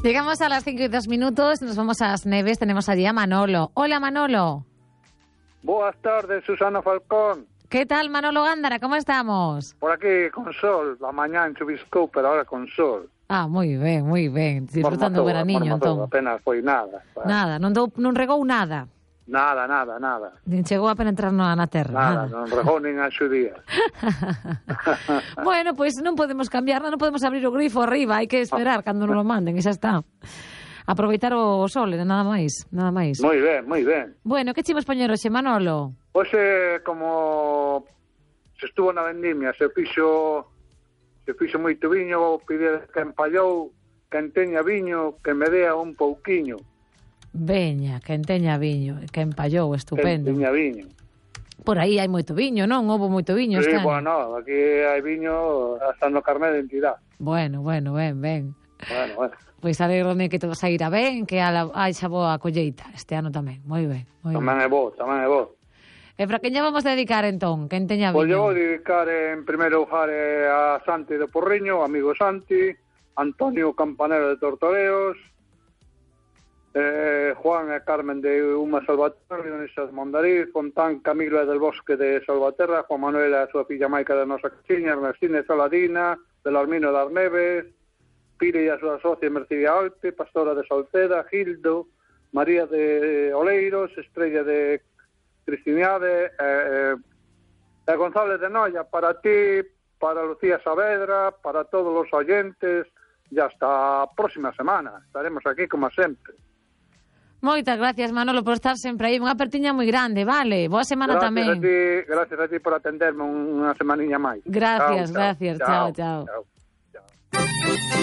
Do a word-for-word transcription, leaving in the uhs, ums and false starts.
Llegamos a las cinco y dos minutos, nos vamos a las Neves, tenemos allí a Manolo. Hola, Manolo. Boas tardes, Susana Falcón. ¿Qué tal, Manolo Gándara? ¿Cómo estamos? Por aquí con sol, a mañá en chuviscou, pero ahora con sol. Ah, moi ben, moi ben, disfrutando o veraniño, entón. Apenas foi nada. Para... Nada, non, dou, non regou nada. Nada, nada, nada. Nin chegou a penetrar na, na terra. Nada, Nada, non regou nin a xudía. Bueno, pois pues non podemos cambiar, non podemos abrir o grifo arriba, hai que esperar cando nos lo manden, e xa está. Aproveitar o sol, nada máis, nada máis. Moi ben, moi ben. Bueno, que chimos poñer hoxe, Manolo? Hoxe, como se estuvo na vendimia, se fixo se fixo moito viño, pide que empallou, que enteña viño, que me dea un pouquiño. Veña, que enteña viño, que empallou, estupendo. Que enteña viño. Por aí hai moito viño, non? Houve moito viño sí, este ano. Bueno, aquí hai viño hasta no carné de identidade. Bueno, bueno, ben, ben. Bueno, bueno. Pois alegrome que todo saíra ben, que haxa boa colleita este ano tamén. Moi ben, moi ben. Tamén é bo, tamén é bo. E para quen lle vamos dedicar entón? Quen teña viño? Pois eu vou dedicar en primeiro lugar a Santi de Porriño, amigo Santi, Antonio Campanero de Tortoreos, eh, Juan e Carmen de Uma Salvaterra, Dionisas Mondariz, Fontán Camilo e del Bosque de Salvaterra, Juan Manuel e a súa filla Maica de Nosa Caxiña, Ernestina e Saladina, Belarmino das Neves, Pire e a súa socia Mercedes Alpe, Pastora de Salceda, Gildo, María de Oleiros, Estrella de Cristiniade, eh, eh, González de Noia, para ti, para Lucía Saavedra, para todos os oyentes, e hasta a próxima semana. Estaremos aquí como sempre. Moitas gracias, Manolo, por estar sempre aí. Unha apertiña moi grande, vale? Boa semana gracias tamén. A ti, gracias a ti por atenderme unha semaniña máis. Gracias, chao, gracias. Chao, chao. chao. chao.